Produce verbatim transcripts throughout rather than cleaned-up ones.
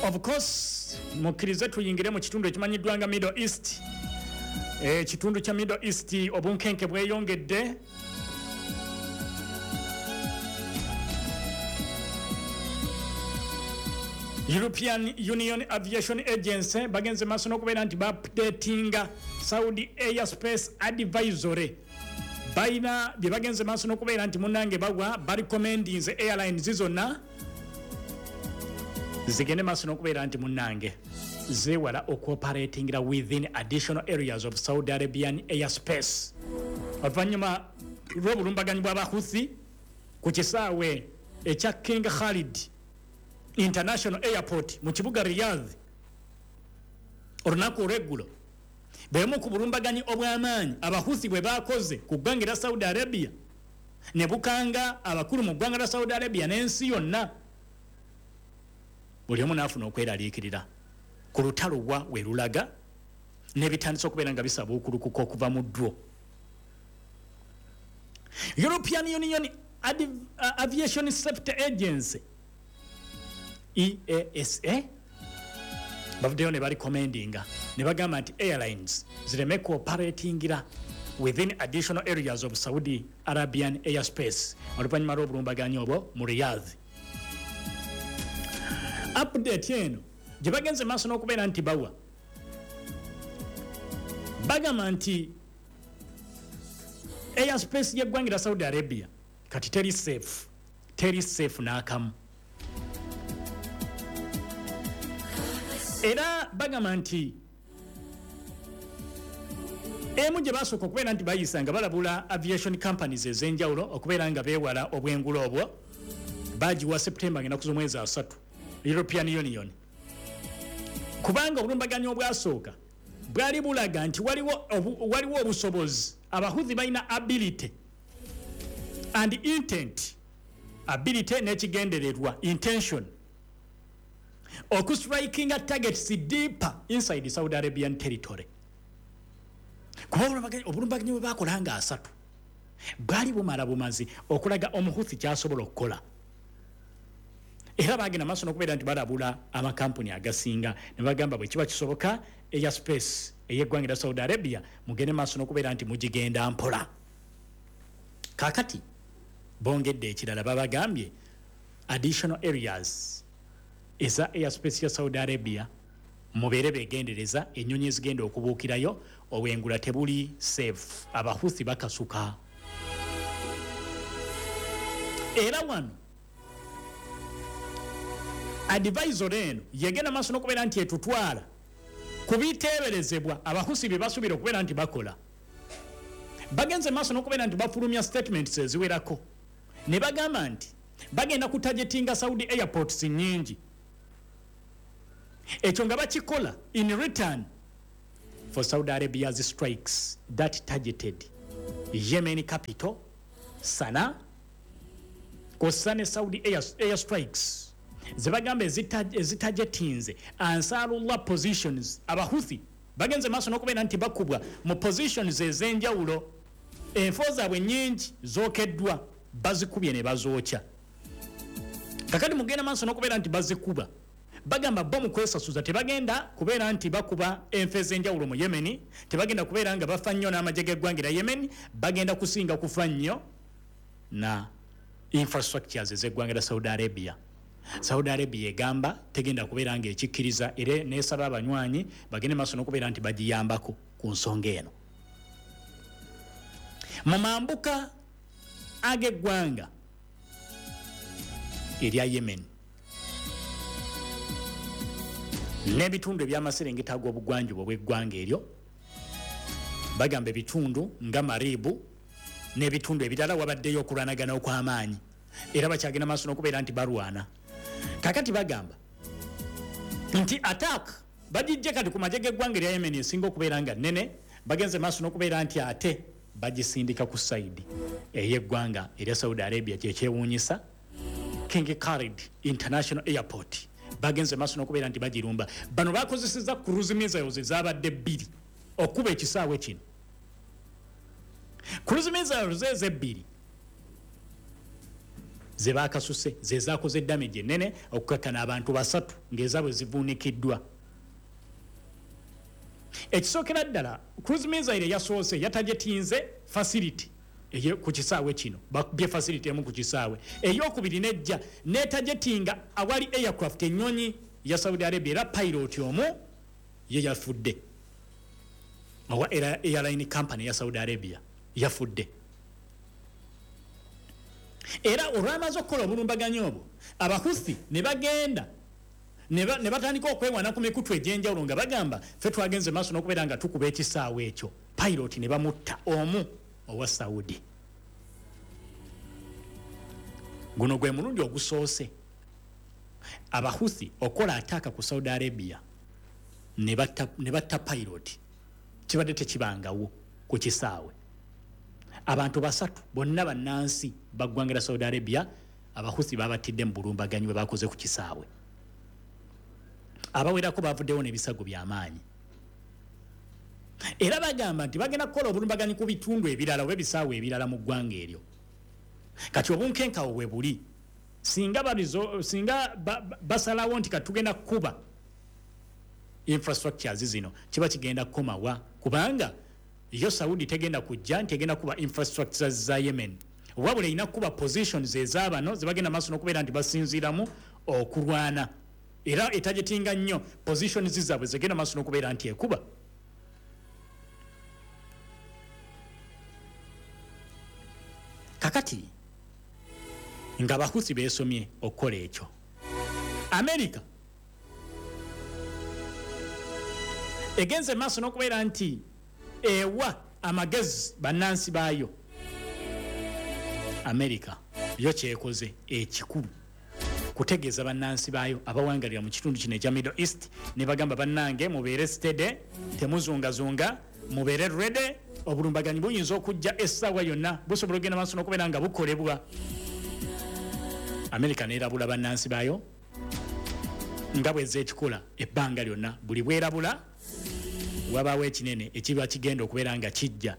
Of course, mukkirize tuyingire mu kitundu ekimanyiddwa nga Middle East. Ekitundu kya Middle East obunkenke bweyongedde. European Union Aviation Agency bagenze maaso n'okubeera nti baupdatinga Saudi Airspace Advisory. Balina bye bagenze maaso n'okubeera nti munnange bagwa barecommendinze airlines zonna zigende maaso n'okubeera nti munnange zeewala okuoperatingira within additional areas of Saudi Arabian airspace. Oluvannyuma lw'obulumbaganyi bw'Abahuthi ku kisaawe ekya King Khalid International Airport mu kibuga Riyadh olunaku olw'eggulo, bwemu ku bulumbaganyi obw'amaanyi Abahuthi bwe baakoze ku ggwanga erya Saudi Arabia ne bukanga abakulu mu ggwanga lya Saudi Arabia n'ensi yonna, buli omu n'afuna okweraliikirira ku lutalo wa we lulaga n'ebitandise okubeera nga bisabuukulukuka okuva mu ddwo. European Union Aviation Safety Agency E A S A bavuddeyo ne barecommendinga ne bagamba nti airlines zireme cooperatingira within additional areas of Saudi Arabian airspace oluvannyuma lw'obulumbaganyi obwo mu Riyadh. Update eno gye bagenze maaso n'okubeera nti bawa bagamba nti airspace y'eggwanga lya Saudi Arabia kati teri safe, teri safe n'akamu. Era bagamba nti emu gye basooka okubeera nti bayisa nga balabula aviation companies ez'enjawulo okubeera nga beewala obwengula obwo bagiwa September ng'ennaku z'omwezi asatu European Union, kubanga obulumbaganyi obwasooka bwali bulaga nti waliwo waliwo obusobozi Abahuthi balina ability and intent, ability n'ekigendererwa intention okustrikinga targets deeper inside Saudi Arabian territory. Kuba obulumbaganyi bwe baakola nga asatu bwali bumala bumazi okulaga Omuhuthi ky'asobola okukola. Era bagenda maaso n'okubeera nti balabula amakampuni agasinga ne bagamba bwe kiba kisoboka airspace ey'eggwanga lya Saudi Arabia mugende maaso n'okubeera nti mugigenda mpola. Kaakati bongedde ekirala, babagambye additional areas eza airspace ya Saudi Arabia mubeere beegendereza ennyonyi ezigenda okubuukirayo, obwengula tebuli safe, Abahuthi bakasuka. Era wano advisory eno yegenda maaso n'okubeera nti etutwala ku biteeberezebwa Abahusi bye basuubira okubeera nti bakola. Bagenze maaso n'okubeera nti bafulumya statements eziwerako ne bagamba nti bagenda kutargetinga Saudi airports nnyingi, ekyo nga bakikola in return for Saudi Arabia's strikes that targeted Yemen capital Sanaa, kw'ossa ne Saudi air, air strikes ze bagamba ezitargetinze Ansarullah positions. Abahuthi bagenze maaso n'okubeera nti bakubwa mu positions ez'enjawulo, enfo zaabwe nnyingi zookeddwa, bazikubye ne bazookya. Kakati mugenda maaso n'okubeera nti bazikuba, bagamba bo mu kwesasuza tebagenda kubeera nti bakuba enfo ez'enjawulo mu Yemen, tebagenda kubeera nga bafa nnyo n'amagye g'eggwanga lya Yemen, bagenda kusinga kufa nnyo na infrastructures ez'eggwanga lya Saudi Arabia. Saudi Arabia egamba tegenda kubeera nga ekikkiriza era n'esaba abanywanyi bagende maaso n'okubeera nti bagiyambako ku nsonga eno. Mu mambuka ag'eggwanga erya Yemen n'ebitundu eby'amaserengeta ag'obugwanjuba obw'eggwanga eryo, bagamba ebitundu nga Maribu n'ebitundu ebirala wabaddeyo okulwanagana okw'amaanyi, era bakyagenda maaso n'okubeera nti balwana. Kakati bagamba nti attack bagijje kati ku magye g'eggwanga erya Yemen esinga okubeera nga nnene, bagenze maaso n'okubeera nti ate bagisindika ku side ey'eggwanga erya Saudi Arabia. Kyekyewuunyisa, King Khalid International Airport bagenze maaso n'okubeera nti bagirumba. Bano bakozesezza cruise missiles ezabadde bbiri okuba ekisaawe kino. Cruise missiles ezo ebbiri ze bakasuse ze zakoze damage ennene okukakkana abantu basatu ng'ezaabwe zivuunikiddwa. Ekisookera ddala, cruise missile yasoose yatargetinze facility ku kisaawe kino, bakubye facility emu ku kisaawe. Eyokubiri nejja netargetinga awali aircraft, ennyonyi ya Saudi Arabia, era pilot omu ye yafudde, owa airline company ya Saudi Arabia yafudde. Era olwamaze okukola obulumbaganyi obwo, Abahuthi ne bagenda ne batandika okwewana ku mikutu egy'enjawulo nga bagamba ffe twagenze maaso n'okubeera nga tukuba ekisaawe ekyo, pilot ne bamutta omu owa Saudi. Guno gwe mulundi ogusoose Abahuthi okukola attack ku Saudi Arabia ne batta pilot, kibadde tekibangawo ku kisaawe. Abantu basatu bonna bannansi ba ggwanga lya Saudi Arabia Abahuthi babattidde mu bulumbaganyi bwe bakoze ku kisaawe. Abawerako bavuddewo n'ebisago by'amaanyi, era bagamba nti bagenda kukola obulumbaganyi ku bitundu ebirala oba ebisaawe ebirala mu ggwanga eryo. Kati obunkenkawo bwe buli, singa singa basalawo nti katugenda kukuba infrastructures zino, kiba kigenda kukomawa, kubanga yo Saudi tegenda kujja nti egenda kuba infrastructures za Yemen, wabula erina kuba positions ez'abano zebagenda maaso n'okubeera nti basinziiramu okulwana, era etagetinga nnyo positions zaabwe zigenda maaso n'okubeera nti ekuba. Kakati nga Abahuthi beesomye okukola ekyo, America egenze maaso n'okubeera nti ewa amagezi bannansi baayo. America yo kyekoze ekikulu kutegeeza bannansi baayo abawangalira mu kitundu kino ekya Middle East, ne bagamba bannange mubeere steady, temuzungazunga, mubeere ready, obulumbaganyi buyinza okujja essaawa yonna, busobola okugenda maaso n'okubeera nga bukolebwa. America neerabula bannansi baayo nga bwezza ekikola ebbanga lyonna, buli bwerabula wabaawo ekinene ekiba kigenda okubeera nga kijja.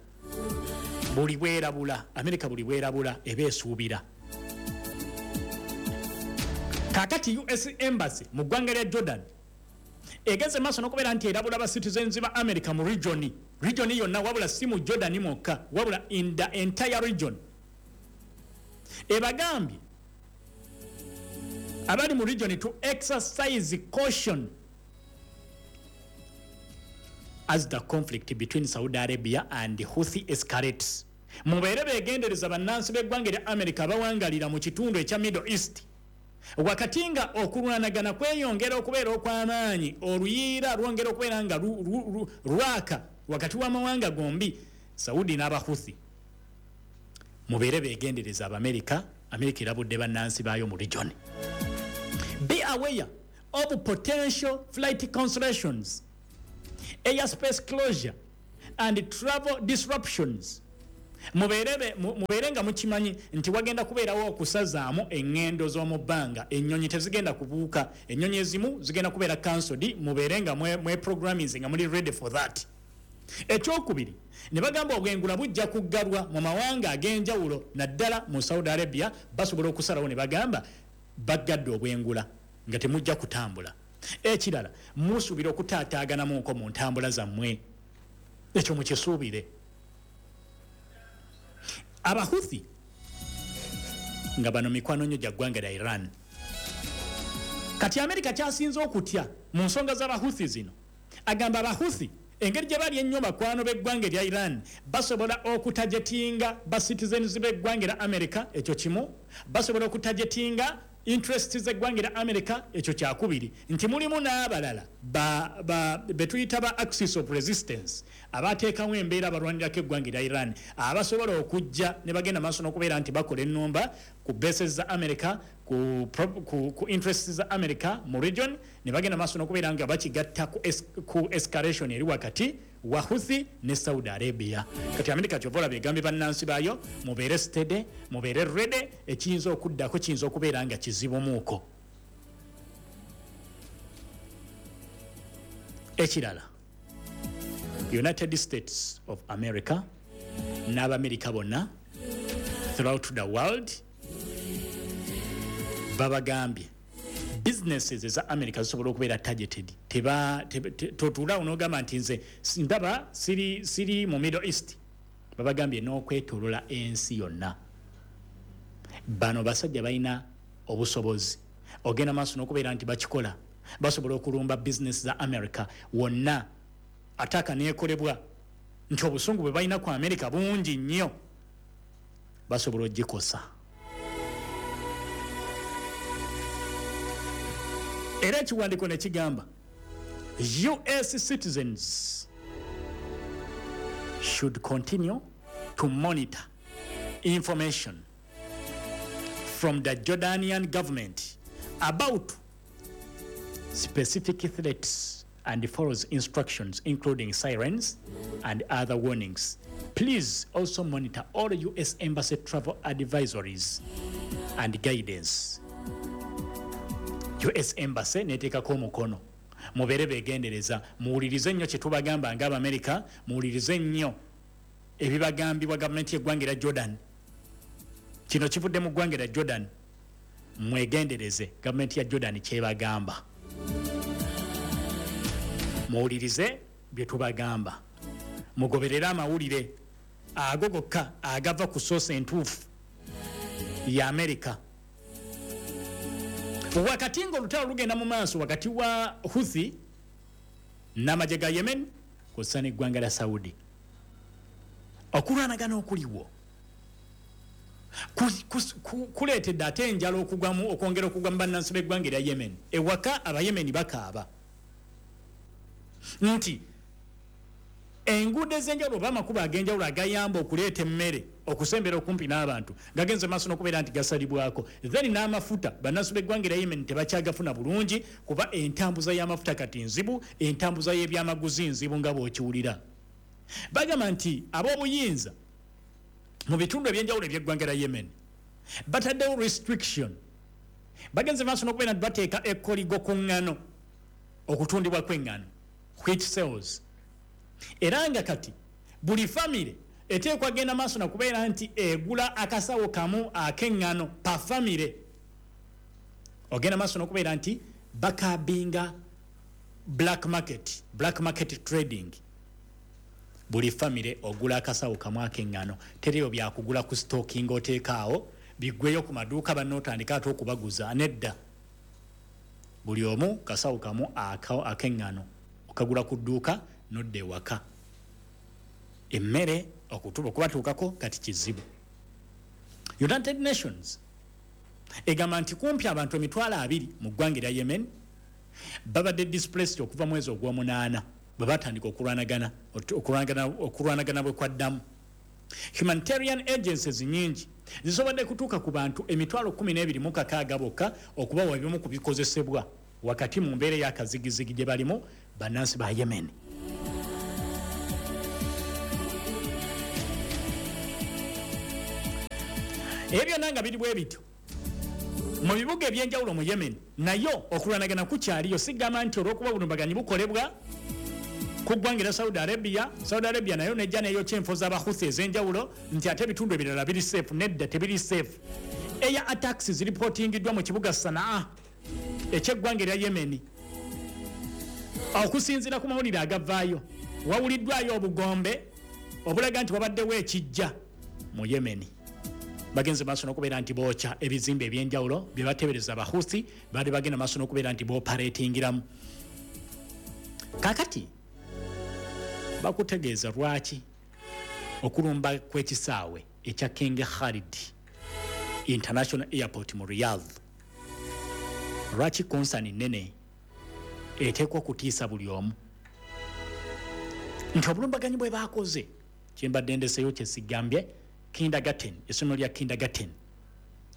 Buli bwerabula America, buli bwerabula eba esuubira. Kakati U S Embassy mu ggwanga lya Jordan egeze maaso n'okubeera nti erabula ba citizens ba America mu region region yonna, wabula si mu Jordan mwokka, wabula in the entire region. Ebagambye abali mu region to exercise caution as the conflict between Saudi Arabia and the Houthi escalates. Mubeere beegendereza bannansi b'eggwanga erya America abawangalira mu kitundu ekya Middle East, wakati nga okulwanagana kweyongera okubeera okw'amaanyi, oluyiira lwongera okubeera nga lwaka wakati w'amawanga gombi, Saudi n'Abahuthi. Mubeere beegendereza Abamerika. Amerika erabudde bannansi baayo mu region. Be aware of potential flight cancellations, airspace closure and travel disruptions. Mubeere nga mukimanyi nti wagenda kubeerawo okusazaamu eŋŋendo z'omu bbanga, ennyonyi tezigenda kubuuka, ennyonyi ezimu zigenda kubeera cancelled. Mubeere nga mwe programming nga muli ready for that. Ekyokubiri, ne bagamba obwengula bujja kuggalwa mu mawanga ag'enjawulo, naddala mu Saudi Arabia. Basobola okusalawo ne bagamba baggadde obwengula nga temujja kutambula. Ekirala, musuubira okutaataaganamuko mu ntambula zammwe, ekyo mukisuubire. Abahuthi nga bano mikwano nnyo gya ggwanga lya Iran. Kati Amerika kyasinze okutya mu nsonga z'Abahuthi zino, agamba Abahuthi engeri gye bali ennyo bakwano b'eggwanga erya Iran, basobola okutagetinga ba citizens b'eggwanga erya America, ekyo kimu. Basobola okutagetinga interests z'eggwanga erya America, ekyo kyakubiri. Nti mulimu n'abalala betuyita ba axis of resistance, abateekawo embeera abalwanirako eggwanga erya Iran, abasobola okujja ne bagenda maaso n'okubeera nti bakola ennumba ku bases za America, ku, ku, ku interests za America mu region, ne bagenda maaso n'okubeera nga bakigatta ku, es, ku escalation eri wakati wa Houthi ne Saudi Arabia. Kati America kyova olaba egambye bannansi baayo mubeere steady, mubeere ready, ekiyinza okuddako kiyinza okubeera nga kizibumuuko. Ekirala, United States of America n'Abamerika bonna throughout the world Babagambye businesses eza America zisobola okubeera targeted. Teba totuula onogamba nti nze ndaba siri siri mu Middle East. Babagambye n'okwetolola ensi yonna. Bano basajja balina obusobozi ogenda maaso n'okubeera nti bakikola, basobola okulumba business za America wonna. Ataka neekolebwa nti obusungu bwe balina ku America bungi nnyo, basobola ogikosa. Era ekiwandiiko ne kigamba U S citizens should continue to monitor information from the Jordanian government about specific threats and follows instructions, including sirens and other warnings. Please also monitor all U S Embassy travel advisories and guidance. U S Embassy neteekako omukono. Mubeere beegendereza, muwulirize nnyo kye tubagamba ng'Abamerika, muwulirize nnyo ebibagambibwa gavumenti y'eggwanga erya Jordan. Kino kivudde mu ggwanga erya Jordan. Mwegendereze gavumenti ya Jordan kyebagamba, muwulirize bye tubagamba, mugoberere amawulire ago gokka agava ku source entuufu ya Amerika. Wakati ng'olutalo lugenda mu maaso wakati wa Houthi n'amagye ga Yemen kw'ossa n'eggwanga lya Saudi, okulwanagana okuliwo kuleetedde ate enjala okugwamu okwongera okugwa mu bannansi b'eggwanga erya Yemen. Ewaka Abayemeni bakaaba nti enguudo ez'enjawulo oba amakubo ag'enjawulo agayamba okuleeta emmere okusembera okumpi n'abantu gagenze maaso n'okubeera nti gasalibwako. Then n'amafuta bannansi b'eggwanga erya Yemen tebakyagafuna bulungi kuba entambuza y'amafuta kati nzibu, entambuza y'ebyamaguzi nzibu nga bw'okiwulira. Bagamba nti ab'obuyinza mu bitundu ebyenjawulo eby'eggwanga lya Yemen bataddewo restriction, bagenze maaso n'okubeera nti bateeka ekkoligo ku ŋŋano, okutundibwa kw'eŋŋano, wheat sales. Era nga kati buli famire eteekwa genda maaso nakubeera nti egula akasawo kamu ak'eŋŋano pa famire. Ogenda maaso n'okubeera nti bakabinga black market, black market trading. Buli famire ogula akasawo kamu ak'eŋŋano, teriyo byakugula ku stocking oteekaawo biggweyo ku maduuka bannootandika ate okubaguza. Nedda, buli omu kasawo kamu ak'eŋŋano okagula ku dduuka nodda ewaka. Emmere okutuba okubatuukako kati kizibu. United Nations egamba nti kumpi abantu emitwalo abiri mu ggwanga erya Yemen babadde displaced okuva mwezi ogw'omunaana bwe batandika okulwanagana okulwanagana bwe kwaddamu. Humanitarian agencies nnyingi zisobodde kutuuka ku bantu emitwalo kkumi n'ebiri mu kakaaga bokka okubawa ebimu ku bikozesebwa wakati mu mbeera ey'akazigizigi gye balimu bannansi ba Yemen. Ebyo byonna nga biri bwe bityo mu bibuga ebyenjawulo mu Yemen nayo okulwanagana kukyaliyo. Sigamba nti olw'okuba obulumbaganyi bukolebwa ku ggwanga erya Saudi Arabia, Saudi Arabia nayo nejja neyokya enfo z'Abahuthi ez'enjawulo nti ate ebitundu ebirala biri safe. Nedda, tebiri safe. Air attacks ziripotingiddwa mu kibuga Sanaa ekyeggwanga erya Yemen. Okusinziira ku mawulire agavaayo, wawuliddwayo obugombe obulaga nti wabaddewo ekijja mu Yemen. Bagenze maaso n'okubeera nti bookya ebizimbe ebyenjawulo bye bateebereza Abahuthi baali bagenda maaso n'okubeera nti booperatingiramu. Kaakati bakutegeeza lwaki okulumba kw'ekisaawe ekya King Khalid International Airport mu Riyadh lwaki konsani nnene eteekwa okutiisa buli omu, nti obulumbaganyi bwe baakoze kyembadde ndeseyo kye sigambye, kindergarten, essomero lya kindergarten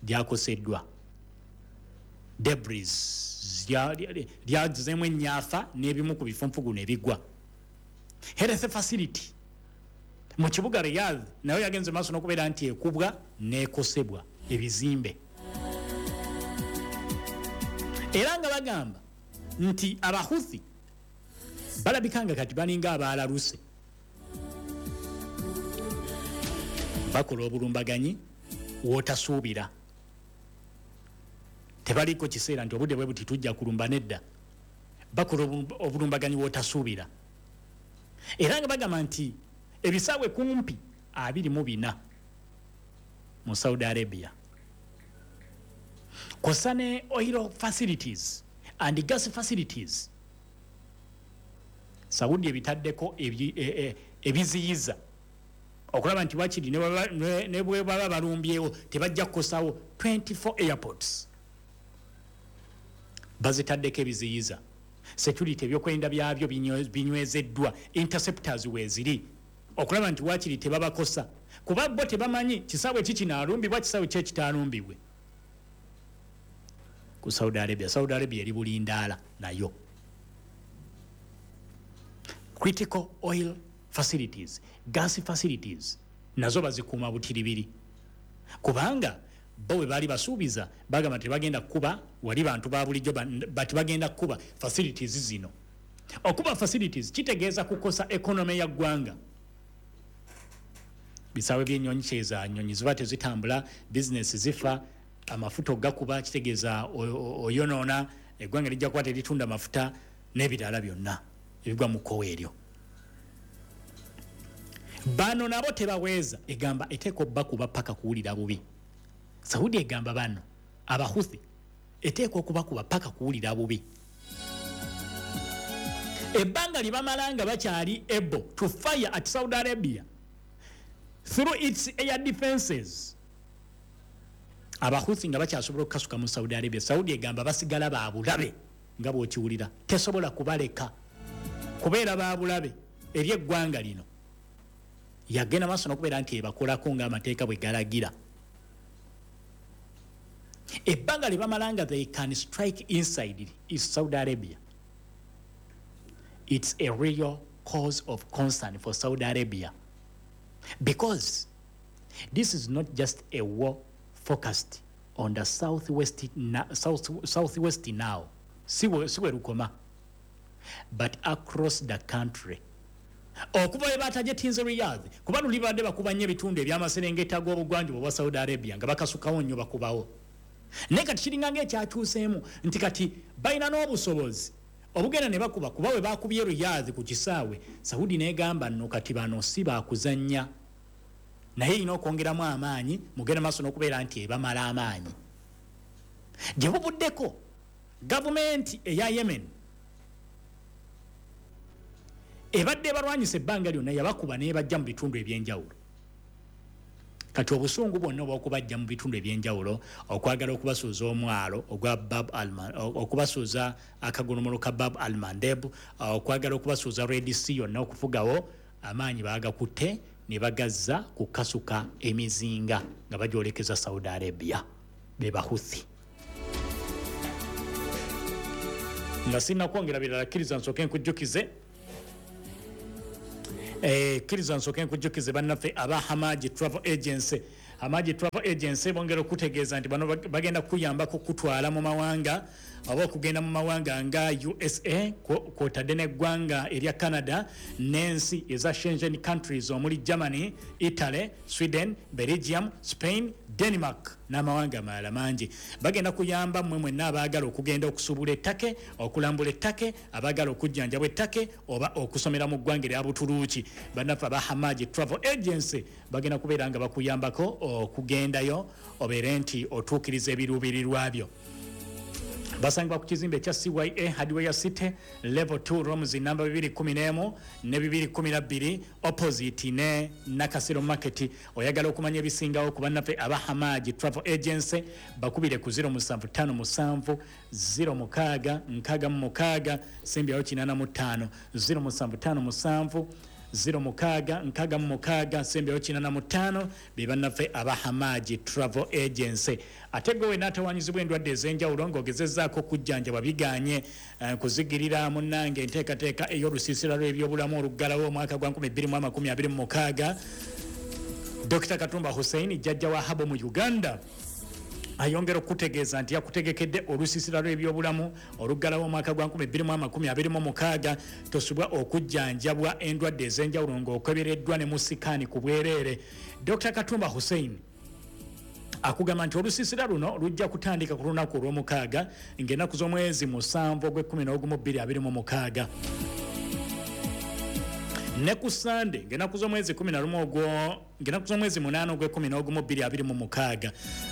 lyakoseddwa, debris lyagizeemu ennyafa n'ebimu ku bifunfugu ne bigwa. Health facility mu kibuga Riyadh nayo yagenze maaso n'okubeera nti ekubwa n'ekosebwa ebizimbe. Era nga bagamba nti Abahuthi balabika nga kati balinga abaalaluse, bakola obulumbaganyi w'otasuubira. Tebaliko kiseera nti obudde bwe buti tujja kulumba, nedda, bakola obulumbaganyi wotasuubira. Era nga bagamba nti ebisaawe kumpi abiri mu bina mu Saudi Arabia kw'ossa ne oil facilities and gas facilities, Saudi ebitaddeko ebiziyiza okulaba nti wakiri ne bwe baba balumbyewo tebajja kukosawo. twenty-four airports bazitaddeko ebiziyiza, security, ebyokwerinda byabyo binywezeddwa, interceptors weeziri okulaba nti wakiri tebabakosa, kuba bo tebamanyi kisaawe ki kinaalumbibwa, kisaawe ki ekitaalumbibwe ku Saudi Arabia. Saudi Arabia eri bulindaala nayo. Critical oil facilities, gas facilities nazo bazikuuma butiribiri, kubanga bo bwe baali basuubiza bagamba tebagenda kukuba wali bantu ba bulijjo, bati bagenda kukuba facilities zino. Okuba facilities kitegeeza kukosa economy ya ggwanga. Bisaawe by'ennyonyi kyeza nnyonyi ziba tezitambula, bizinesi zifa, amafuta ogakuba kitegeeza oyonoona eggwanga, lijja kuba teritunda mafuta n'ebirala byonna ebigwa mu kkowe eryo. Bano nabo tebaweeza, egamba eteeka obbakuba paka kuwulira bubi. Saudi egamba bano Abahuthi eteeka okubakuba paka kuwulira bubi. Ebbanga lye bamala nga bakyali able to fire at Saudi Arabia through its air defenses, Abahuthi nga bakyasobola okukasuka mu Saudi Arabia, Saudi egamba basigala babulabe nga bw'okiwulira, tesobola kubaleka kubeera babulabe eri eggwanga lino. Yagenda maaso n'okubeera nti ebakolako ng'amateeka bwe galagira. Ebbanga lye bamala nga they can strike inside is Saudi Arabia, it's a real cause of concern for Saudi Arabia, because this is not just a war focused on the southwest, south, southwest now, si we lukoma, but across the country. Okuva we batajetinze Riyadh, kuba luli badde bakuba nnyo ebitundu ebyamaserengeta g'obugwanjuba obwa Saudi Arabia nga bakasukawo nnyo bakubawo. Naye kati kiringa ng'ekyakyuseemu nti kati balina n'obusobozi obugenda ne bakuba, kuba we bakubye Riyadh ku kisaawe, Saudi n'egamba nno kati bano si baakuzannya, naye erina okwongeramu amaanyi mugenda maaso n'okubeera nti ebamala amaanyi. Gye buvuddeko gavumenti eya Yemen ebadde ebalwanyisa ebbanga lyonna yabakuba n'ebajja mu bitundu ebyenjawulo. Kati obusungu bwonna obw'okubajja mu bitundu ebyenjawulo, okwagala okubasuuza omwalo ogwa Bab Alman, okubasuuza akagolomolo ka Bab Almandeb, okwagala okubasuuza Red Sea yonna okufugawo, amaanyi baagakutte ne bagazza kukasuka emizinga nga bagyolekeza Saudi Arabia, be Bahuthi. Nga sinnakwongera birala, kkiriza nsooke nkujjukize kkiriza nsooke nkujjukize bannaffe aba Hamaji Travel Agency. Hamaji Travel Agency bongera okutegeeza nti bano bagenda kuyambako kutwala mu mawanga oba okugenda mu mawanga nga U S A kw'otadde n'eggwanga erya Canada n'ensi eza Schengen countries omuli Germany, Italy, Sweden, Belgium, Spain, Denmark n'amawanga amalala mangi. Bagenda kuyamba mmwe mwenna abaagala okugenda okusuubula ettake, okulambula ettake, abaagala okujjanjabwa ettake oba okusomera mu ggwanga erya Buturuuki. Bannaffe aba Hamaji Travel Agency bagenda kubeera nga bakuyambako okugendayo obeere nti otuukiriza ebiruubirirwa byo. Basangibwa ku kizimbe ekya C Y A Hardware City level two rooms namba bibiri kumi n'emu ne bibiri kumi na bbiri opposite ne Nakasero Market. Oyagala okumanya ebisingawo ku bannaffe aba Hamaji Travel Agency bakubire ku zero musanvu ttaano musanvu zero mukaaga nkaaga mu mukaaga sembyawo kinaana mu ttaano, zero musanvu ttaano musanvu zero mukaaga nkaaga mu mukaaga sembyawo kinaana mu ttaano, be bannaffe aba Hamaji Travel Agency. Ate gwe wenna atawanyizibwa endwadde ez'enjawulo ng'ogezezzaako okujjanjabwa biganye, kuzigirira munnange enteekateeka ey'olusiisira lw'ebyobulamu oluggalawo omwaka gwa nkumi bbiri mu amakumi abiri mu mukaaga, Dokita Katumba Hussein jjajja wa Habo mu Uganda ayongera okutegeeza nti yakutegekedde olusiisira lw'ebyobulamu oluggalawo omwaka gwa nkumi bbiri mu amakumi abiri mu mukaaga. Tosubwa okujjanjabwa endwadde ez'enjawulo ng'okebereddwa ne musikaani ku bwereere. Dokita Katumba Hussein Akugamba nti olusiisira luno lujja kutandika ku lunaku olw'omukaaga ng'ennaku z'omwezi musanvu ogw'ekkumi n'ogumu bbiri abiri mu mukaaga, ne ku Sande ng'ennaku z'omwezi kumi na lumu ogwo ng'ennaku z'omwezi munaana ogw'ekkumi n'ogumu bbiri abiri mu mukaaga,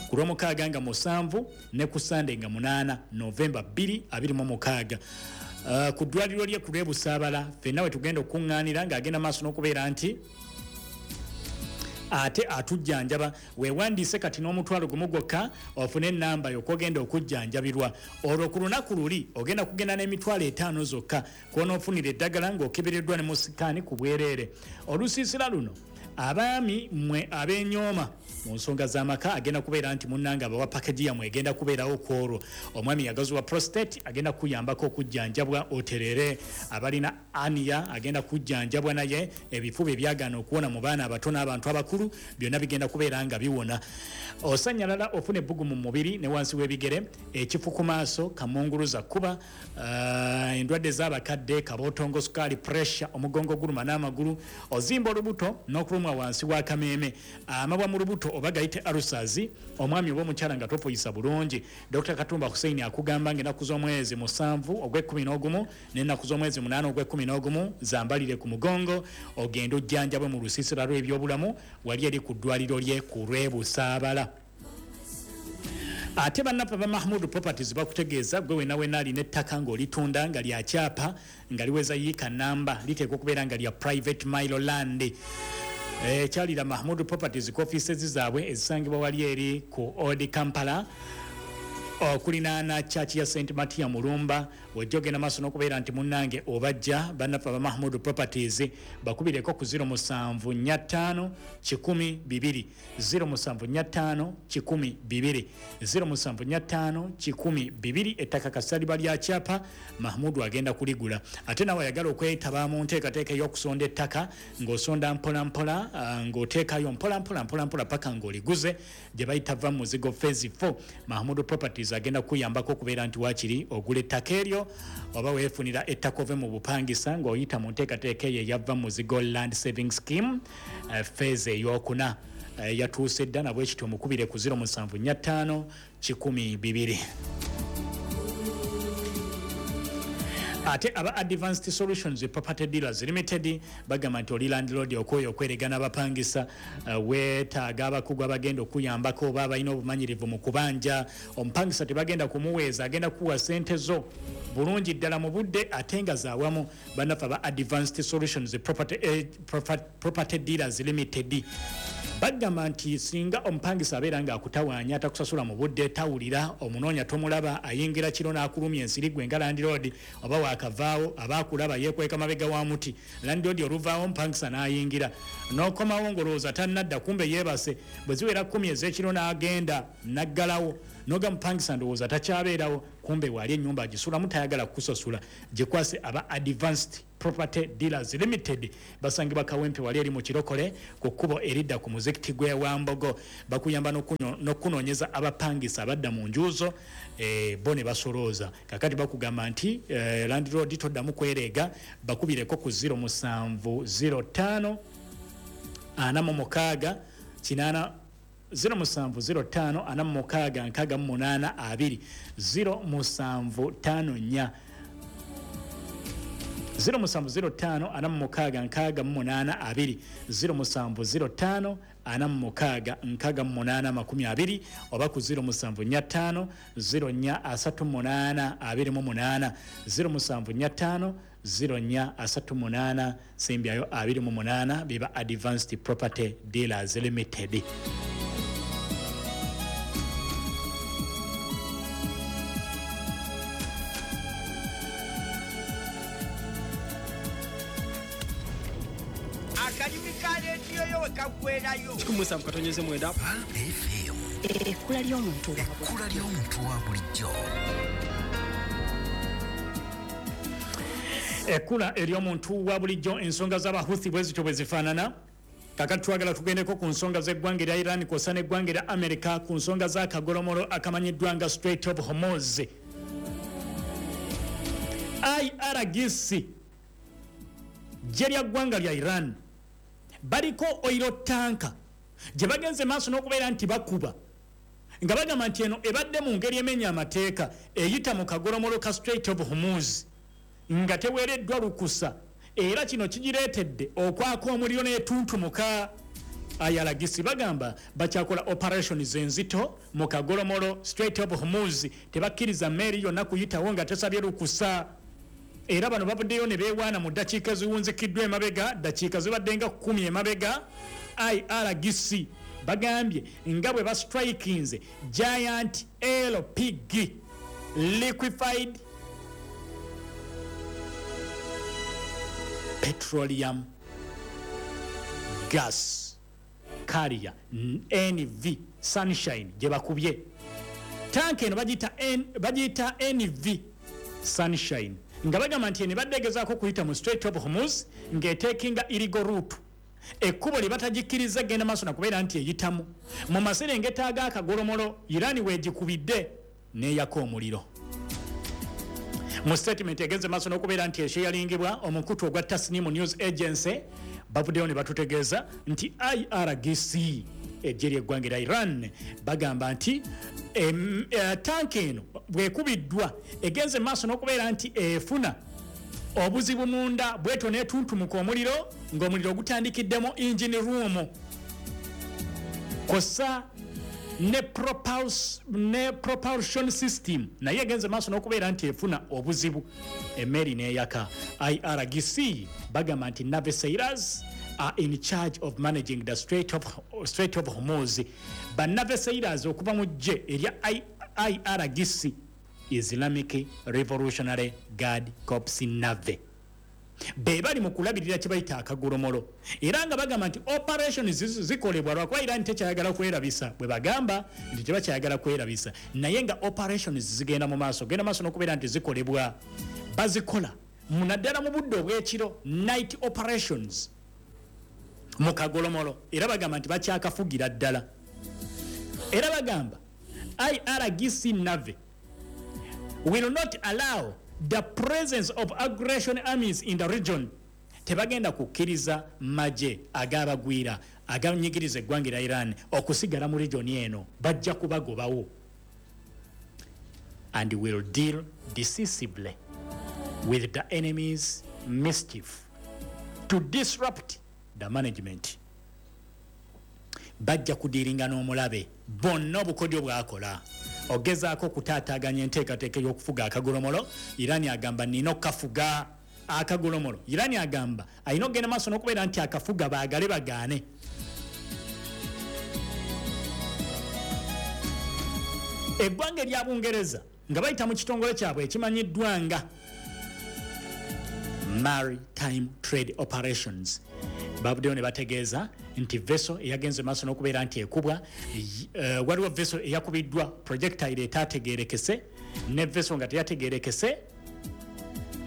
ku lw'omukaaga nga musanvu ne ku Sande nga munaana Novemba bbiri abiri mu mukaaga. Uh, ku ddwaliro lye ku lw'e Busaabala ffenna we tugenda okuŋŋaanira ng'agenda maaso n'okubeera nti ate atujjanjaba. Weewandiise kati n'omutwalo gumu gwokka ofune ennamba y'okwogenda okujjanjabirwa. Olwo ku lunaku luli ogenda kugenda n'emitwalo etaano zokka kw'onoofunira eddagala ng'okebereddwa ne mu sikaani ku bwereere. Olusiisira luno, abaami mmwe ab'enyooma mu nsonga z'amaka, agenda kubeera nti munnange abawa package yammwe egenda kubeerawo ku olwo. Omwami yagaziwa prostate, agenda kuyambako okujjanjabwa oterere. Abalina hernia agenda kujjanjabwa, naye ebifuba ebyagaana okuwona mu baana abato n'abantu abakulu byonna bigenda kubeera nga biwona. Osanyalala, ofuna ebbugu mu mubiri ne wansi w'ebigere, ekifu ku maaso, kamunguluza kuba uh, endwadde z'abakadde, kabootongo, sukaali, pressure, omugongo guluma n'amagulu, ozimba olubuto n'okulumwa wansi w'akameeme, amabwa mu lubuto oba gayite ulcers, omwami oba omukyala nga tofuyisa bulungi. Doctor Katumba Hussein akugamba ng'ennaku z'omwezi musanvu ogw'ekkumi n'ogumu n'ennaku z'omwezi munaana ogw'ekkumi n'ogumu zambalire ku mugongo ogende ojjanjabwe mu lusiisira lw'ebyobulamu wali eri ku ddwaliro lye ku lw'e Busaabala. Ate bannaffe ba Mahmud Properties bakutegeeza gwe wena wena alina ettaka ng'olitunda nga lya kyapa nga liweza yiika namba, liteekwa okubeera nga lya private mailo land. Ekyalira Mahmud Properties ku offices zaabwe ezisangibwa wali eri ku Old Kampala okulinaana church ya Saint Matia Mulumba. Wejja ogenda maaso n'okubeera nti munnange obajja bannaffe aba Mahmud Properties, bakubireko ku zero musanvu nnya ttaano kikumi bibiri, zero musanvu nnya ttaano kikumi bibiri, zero musanvu nnya ttaano kikumi bibiri. Ettaka kasaliba lya kyapa, Mahmudu agenda kuligula. Ate nawe ayagala okwetaba mu nteekateeka ey'okusonda ettaka ng'osonda mpola mpola, uh, ng'oteekayo mpola mpola mpola mpola paka ng'oliguze, gye bayita va muzigo phase four, Mahmudu Properties agenda kuyambako okubeera nti waakiri ogula ettaka eryo oba weefunira ettaka ove mu bupangisa ng'oyita mu nteekateeka eyo eyava muzigo land saving scheme, uh, phase eyokuna uh, yatuuse dda. Nabwe kityo omukubire ku zero musanvu nnya ttaano kikumi bibiri. Ate aba Advanced Solutions Property Dealers Limited bagamba nti oli landlord okwoyo okweregana abapangisa, uh, weetaaga abakugu abagenda okuyambako oba abalina obumanyirivu mu kubanja. Omupangisa tebagenda kumuweeza, agenda kuwa sente zo bulungi ddala mu budde ate nga zaawamu. Bannaffe aba Advanced Solutions Property, eh, Property Dealers Limited bagamba nti singa omupangisa abeera nga akutawaanya, atakusasula mu budde, tawulira, omunoonya tomulaba, ayingira kiro n'akulumya ensiri gwe nga landlord, oba waakavaawo aba akulaba yeekweka mabega wa muti. Landlord oluvaawo omupangisa n'ayingira, n'okomawo ng'olowooza tannadda, kumbe yeebase. Bwe ziwera kkumi ez'ekiro n'agenda n'aggalawo, noga mupangisa ndowooza takyabeerawo, kumbe waali ennyumba agisulamu tayagala kukusasula. Gikwase aba Advanced Property Dealers Limited, basangibwa Kawempe wali eri mu Kirokole ku kkubo eridda ku muzikiti gw'e Wambogo. Bakuyamba n'okunoonyeza abapangisa abadda mu njuzo, e, bo ne basolooza. Kakati bakugamba nti e, landlord toddamu kwereega, bakubireko ku zero musanvu zero ttaano ana mu mukaaga kinaana, zero musanvu zero ttaano ana mu mukaaga nkaaga mu munaana abiri, zero musanvu ttaano nnya, zero musanvu zero ttaano ana mu mukaaga nkaaga mu munaana abiri, zero musanvu zero ttaano ana mu mukaaga nkaaga mu munaana makumi abiri, oba ku zero musanvu nnya ttaano zero nnya asatu munaana abiri mu munaana, zero musanvu nnya ttaano zero nnya asatu munaana sembyayo abiri mu munaana. Biba Advanced Property Dealers Limited. Akalimi ka leediyo yo we kaggwerayo. Kikumi musanvu katonyeze mwenda. F M. Ekkula ly'omuntu wa Ekkula ly'omuntu wa bulijjo. Ekkula ery'omuntu wa bulijjo. Ensonga z'Abahuthi bwe zityo bwe zifaanana. Kakati twagala tugendeko ku nsonga z'eggwanga erya Iran kw'ossa n'eggwanga erya America ku nsonga z'akagolomolo akamanyiddwa nga Strait of Hormuz. I R G C, ggye lya ggwanga lya Iran, baliko oil tanker gye bagenze maaso n'okubeera nti bakuba. Nga bagamba nti eno ebadde mu ngeri emenya amateeka, eyita mu kagolomolo ka Strait of Hormuz nga teweereddwa lukusa, era kino kigireetedde okwaka omuliro n'etuntumuka. I R G C bagamba bakyakola operations enzito mu kagolomolo Strait of Hormuz, tebakkiriza mmeeri yonna kuyitawo nga tesabye lukusa. Era bano bavuddeyo ne beewaana mu ddakiika eziwunzikiddwa emabega, ddakiika zibadde nga kkumi emabega. I R G C bagambye nga bwe bastrikinze giant L P G, liquefied petroleum gas carrier, N V Sunshine gye bakubye. Tanka eno bagiyita bagiyita N V Sunshine, nga bagamba nti eno ebadde egezaako okuyita mu Strait of Hormuz ng'eteekinga illegal route, ekkubo lye batagikkiriza genda maaso nakubeera nti eyitamu mu maserengeta ag'akagolomolo. Irani weegikubidde n'eyaka omuliro. Mu statement egenze maaso n'okubeera nti esharingibwa omukutu ogwa Tasnimu News Agency, bavuddeyo ne batutegeeza nti I R G C, eggye ly'eggwanga erya Iran, bagamba nti em, eh, tanka eno bwekubiddwa egenze maaso n'okubeera nti efuna obuzibu munda, bwetyo n'etuntumuka omuliro, ng'omuliro gutandikiddemu engine room kw'ossa ne, propuls, ne propulsion system, naye egenze maaso n'okubeera nti efuna obuzibu, emmeeri n'eyaka. I R G C bagamba nti navy sailors are in charge of managing the Strait of, Strait of Hormuz. Ba navy sailors okuva mu ggye erya I R G C, Islamic Revolutionary Guard Corps Navy, be bali mu kulabirira kye bayita akagolomolo, era nga bagamba nti operation zikolebwa lwakuba Iran tekyayagala kwerabisa. Bwe bagamba nti tebakyayagala kwerabisa, naye nga operations zigenda mu maaso, genda maaso n'okubeera nti zikolebwa, bazikola naddala mu budde obw'ekiro, night operations mu kagolomolo, era bagamba nti bakyakafugira ddala. Era bagamba I R G C Navy will not allow the presence of aggression armies in the region. Tebagenda kukkiriza magye ag'abagwira aganyigiriza eggwanga erya Iran okusigala mu region eno, bajja kubagobawo, and will deal decisively with the enemy's mischief to disrupt the management. Bajja kudiringa n'omulabe bonna obukodyo bwakola ogezaako okutaataaganya enteekateeka ey'okufuga akagolomolo. Irani agamba nina okukafuga akagolomolo. Irani agamba alina okugenda maaso n'okubeera nti akafuga, baagale bagaane. Eggwanga erya Bungereza nga bayita mu kitongole kyabwe ekimanyiddwa nga Maritime Trade Operations bavuddeyo ne bategeeza nti vessel eyagenze maaso n'okubeera nti ekubwa, uh, waliwo vessel eyakubiddwa projectile etaategeerekese, ne vessel nga teyategeerekese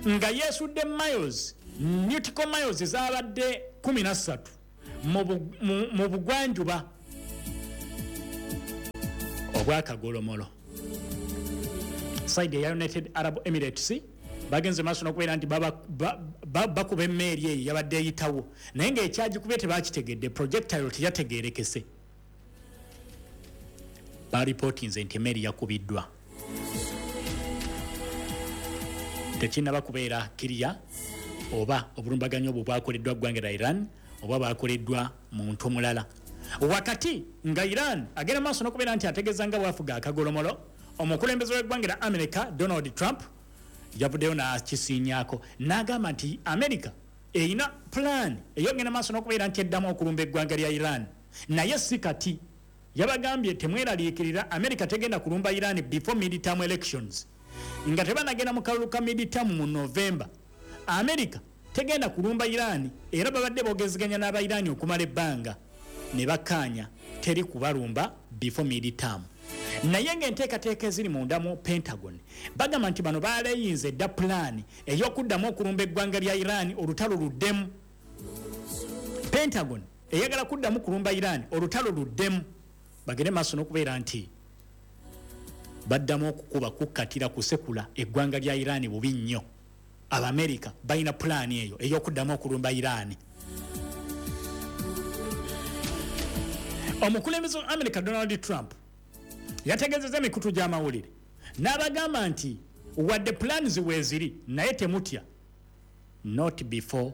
nga yeesudde miles, nautical miles ezabadde kkumi na ssatu mu bugwanjuba obwakagolomolo, side eya United Arab Emirates. Bagenze maaso n'okubeera nti bakuba emmeeri eyo yabadde eyitawo, naye ng'ekyagikubye tebakitegedde, projectile teyategeerekese. Baripootinze nti emmeeri yakubiddwa. Tekinnaba kubeera clear oba obulumbaganyi obwo bwakoleddwa ggwanga lya Iran oba bwakoleddwa muntu mulala. Wakati nga Iran agenda maaso n'okubeera nti ategeeza nga bwafuga akagolomolo, omukulembeze w'eggwanga lya America Donald Trump yavuddeyo n'akisiinyaako n'agamba nti America erina plan eyogenda maaso n'okubeera nti eddamu okulumba eggwanga lya Iran, naye si kati. Yabagambye temweraliikirira, America tegenda kulumba Iran before midterm elections, nga tebanagenda mu kalulu ka midterm mu November. America tegenda kulumba Iran, era babadde boogezeganya n'abairani okumala ebbanga ne bakkaanya teri kubalumba before midterm. Naye ng'enteekateeka eziri munda mu Pentagon bagamba nti bano baleeyinza edda pulaani ey'okuddamu okulumba eggwanga lya Iran, olutalo luddemu. Pentagon eyagala kuddamu kulumba Iran, olutalo luddemu, bagende maaso n'okubeera nti baddamu okukuba, kukkatira, kusekula eggwanga lya Iran bubi nnyo. Abamerika balina pulaani eyo ey'okuddamu okulumba Iran. Omukulembeze wa America Donald Trump Yategeezezza emikutu gy'amawulire n'abagamba nti wadde plans weeziri, naye temutya, not before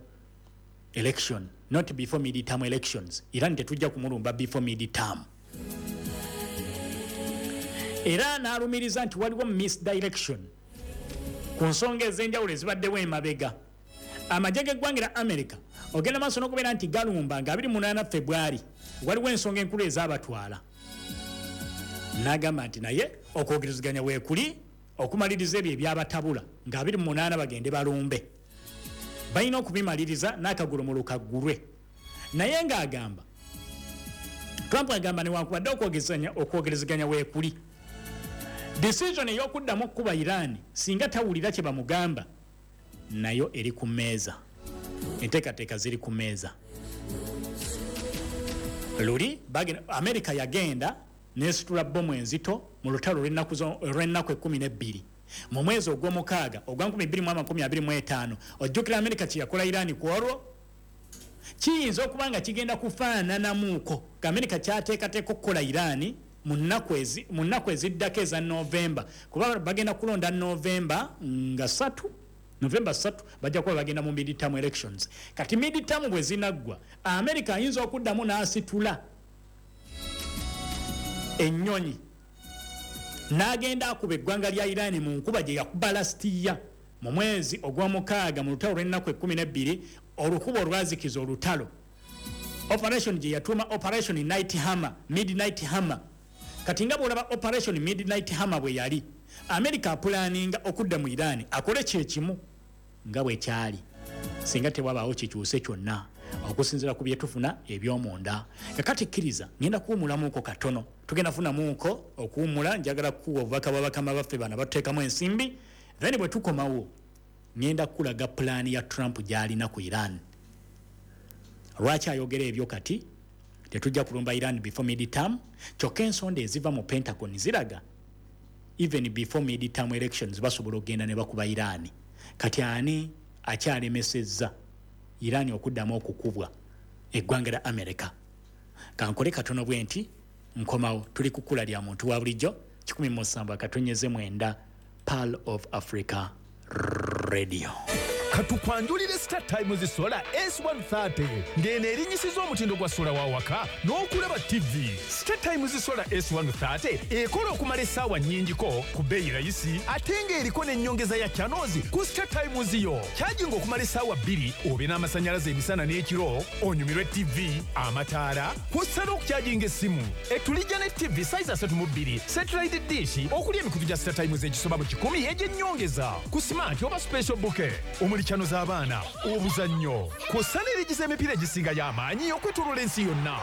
election, not before midterm elections. Iran tetujja kumulumba before midterm. Era n'alumiriza nti waliwo misdirection ku nsonga ez'enjawulo ezibaddewo emabega. Amagye g'eggwanga lya America ogenda maaso n'okubeera nti galumba nga abiri munaana February, waliwo ensonga enkulu ezaabatwala. N'agamba nti naye okwogerezeganya weekuli okumaliriza ebyo ebyabatabula nga abiri munaana bagende balumbe, balina okubimaliriza n'akagulu mu lukaggulwe. Naye ng'agamba Trump agamba newankubadde okwogerezeganya weekuli, decision ey'okuddamu okukuba Iran singa tawulira kye bamugamba nayo eri ku mmeeza, enteekateeka ziri ku mmeeza. Luli America yagenda nesitula bbomu enzito mu lutalo olw'ennaku ekkumi n'ebbiri mu mwezi ogw'omukaaga ogwa nkumi bbiri mu amakumi abiri mu etaano. Ojjukira America kye yakola Iran ku olwo? Kiyinza okuba nga kigenda kufaananamuuko nga America kyateekateeka okukola Iran mu nnaku eziddako eza Novemba, kuba bagenda kulonda Novemba nga ssatu, Novemba ssatu bajja kuba bagenda mu midterm elections. Kati midterm bwe zinaggwa, America ayinza okuddamu n'asitula ennyonyi n'agenda akuba eggwanga lya Iran mu nkuba gye yakuba last year mu mwezi ogw'omukaaga mu lutalo lw'ennaku ekkumi n'ebbiri, olukuba olwazikiza olutalo, operation gye yatuuma Operation Night Hammer, Midnight Hammer. Kati nga bw'olaba Operation Midnight Hammer bwe yali, America apulaninga okudda mu Iran akole kyekimu nga bwe kyali singa tewabaawo kikyuse kyonna okusinziira ku byetufuna eby'omunda. Kakati kkiriza ngenda kuwumulamuuko katono, tugenda funamuuko okuwumula. Njagala kukuwa obubaka bwa bakama baffe bano batuteekamu ensimbi, then bwe tukomawo ngenda kukulaga pulaani ya Trump gy'alina ku Iran. Lwaki ayogera ebyo kati? Tetujja kulumba Iran before midterm. Kyokka ensonda eziva mu Pentagon ziraga even before midterm elections basobola okugenda ne bakuba Iran. Kati ani akyalemesezza Iran okuddamu okukubwa eggwanga lya America? Kankole katono bwe nti nkomawo. Tuli ku kkula lya muntu wa bulijjo kikumi mu musanvu akatonyeze mwenda, Pearl of Africa Radio. Katukwanjulire Star Times Solar S one thirty ng'eno erinnyisiza omutindo gwa sola wa waka n'okulaba T V. Star Times Solar S one thirty ekola okumala essaawa nnyingiko ku bbeeyi rayisi ate ng'eriko n'ennyongeza ya channels ku Star Times yo. Kyajinga okumala essaawa bbiri obe n'amasannyalaze emisana n'ekiro, onyumirwe T V, amataala, kw'ossa n'okukyajinga essimu. Etulijja ne T V size asatu mu bbiri, satellite dish okuli emikutu gya Star Times egisoba mu kikumi egy'ennyongeza ku smart oba special bouquet omuli chano z'abaana, obuzannyo, kw'ossa n'erigiza emipiira egisinga y'amaanyi okwetooloola ensi yonna.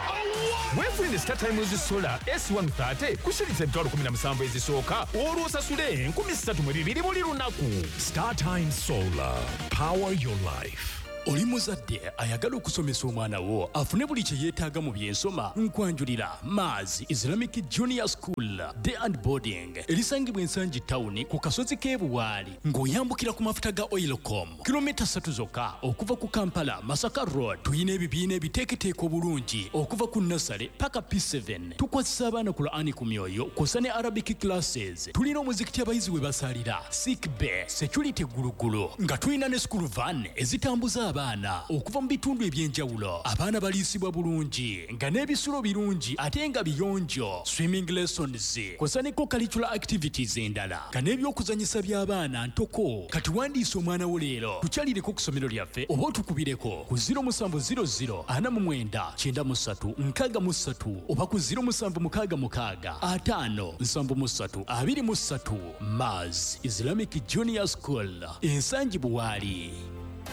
Weefunire Star Times Solar S one thirty ku shilingi emitwalo kumi na musanvu ezisooka olwo osasule enkumi ssatu mu bibiri buli lunaku. Star Times Solar, power your life. Oli muzadde ayagala okusomesa omwana wo afune buli kye yeetaaga mu byensoma, nkwanjulira Mars Islamic Junior School Day and Boarding erisangibwa Ensangi Town ku kasozi k'e Buwaali ng'oyambukira ku mafuta ga Oilcom kilomita ssatu zokka okuva ku Kampala Masaka Road. Tuyina ebibiina ebiteeketeeka obulungi okuva ku nursery paka P seven. Tukwasisa abaana Qur'ani ku myoyo kw'ossa ne Arabic classes. Tulina omuzikiti abayizi we basalira, sick bay, security gulugulu, nga tulina ne school van ezitambuza abaana okuva mu bitundu eby'enjawulo. Abaana baliisibwa bulungi nga n'ebisulo birungi ate nga biyonjo, swimming lessons kw'ossa ne co-curricular activities endala nga n'ebyokuzannyisa by'abaana ntoko. Kati wandiisa omwana wo leero, tukyalireko ku ssomero lyaffe oba otukubireko ku zero musanvu zero zero ana mu mwenda kyenda mu ssatu nkaaga mu ssatu oba ku zero musanvu mukaaga mukaaga ataano nsanvu mu ssatu abiri mu ssatu. Mars Islamic Junior School, Ensangi Buwaali.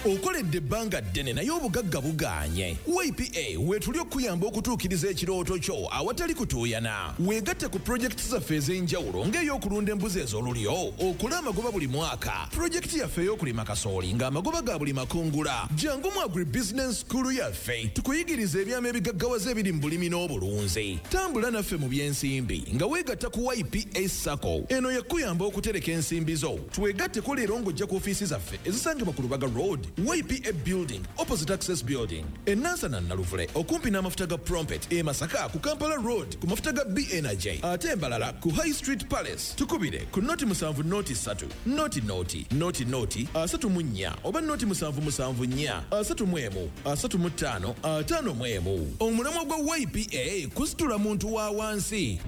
Okoledde ebbanga ddene naye obugagga bugaanye. Y P A weetuli okuyamba okutuukiriza ekirooto kyo awatali kutuuyana. Weegatte ku pulojekiti zaffe ez'enjawulo ng'ey'okulunda embuzi ez'olulyo, okola amagoba buli mwaka, pulojekiti yaffe ey'okulima kasooli ng'amagoba ga buli makungula. Jangu mu Agribusiness School yaffe tukuyigirize ebyama ebigaggawaza ebiri mu bulimi n'obulunzi. Tambula naffe mu by'ensimbi nga weegatta ku Y P A SACCO. Eno yakuyamba okutereka ensimbi zo. Twegatteko leero ng'ojja ku ofiisi zaffe ezisangibwa ku Lubaga Road Road, Y P A Building, opposite Access Building. E Nansana Naluvule okumpi n'amafuta ga Prompet. E Masaka ku Kampala Road ku mafuta ga B N J. Ate Mbalala ku High Street Palace. Tukubire ku noti musanvu noti ssatu, noti noti, noti noti, asatu mu nnya oba noti musanvu musanvu nnya, asatu mu emu, asatu mu ttaano, ataano mu emu. Omulamwa gwa Y P A kusitula muntu wa wansi.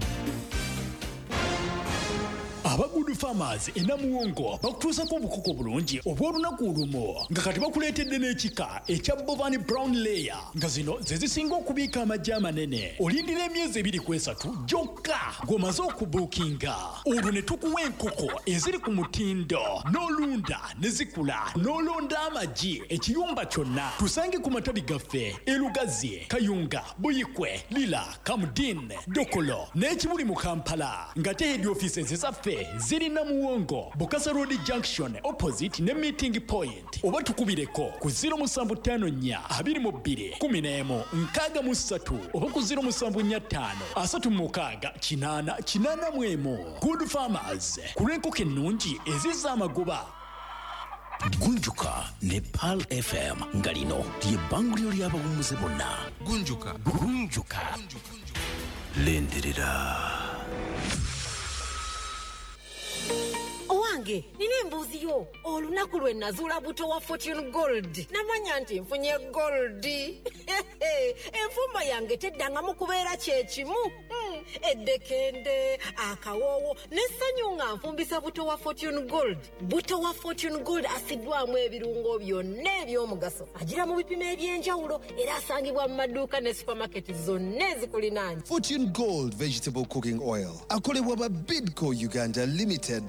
Aba Good Farmers e Namuwongo bakutuusako obukoko bulungi obw'olunaku olumu nga kati bakuleetedde n'ekika ekya Bovani Brown Layer nga zino ze zisinga okubiika amagi amanene. Olindira emyezi ebiri ku esatu gyokka ng'omaze okubuukinga, olwo ne tukuwa enkoko eziri ku mutindo n'olunda ne zikula n'olonda amagi ekiyumba kyonna. Tusange ku matabi gaffe e Lugazi, Kayunga, Buyikwe, Lira, Kamudin, Dokolo n'ekibuli mu Kampala, nga te head offices zaffe ziri Namuwongo, Bukasa Road Junction opposite ne meeting point, oba tukubireko ku zero musanvu ttaano nnya abiri mu bbiri kumi n'emu nkaaga mu ssatu oba ku zero musanvu nnya ttaano asatu mu mukaaga kinaana kinaana mu emu. Good Farmers ku lw'enkoko ennungi ezizza amagoba. Gunjuka ne Pearl F M nga lino lye bbanguliro ly'abawummuze bonna. Gunjuka. Gunjuka. Lindirira. Owange, nina embuzi yo. Olunaku lwe nazuula buto wa Fortune Gold. Namanya nti nfunye gold. Enfumba yange teddangamu kubeera kye kimu. Mm, eddekende, akawoowo, n'essanyu nga nfumbisa buto wa Fortune Gold. Buto wa Fortune Gold asiddwamu ebirungo byonna eby'omugaso. Agira mu bipimo eby'enjawulo era asangibwa mu maduuka ne supermarket zonna ezikulinaanye. Fortune Gold Vegetable Cooking Oil. Akolebwa ba Bidco Uganda Limited.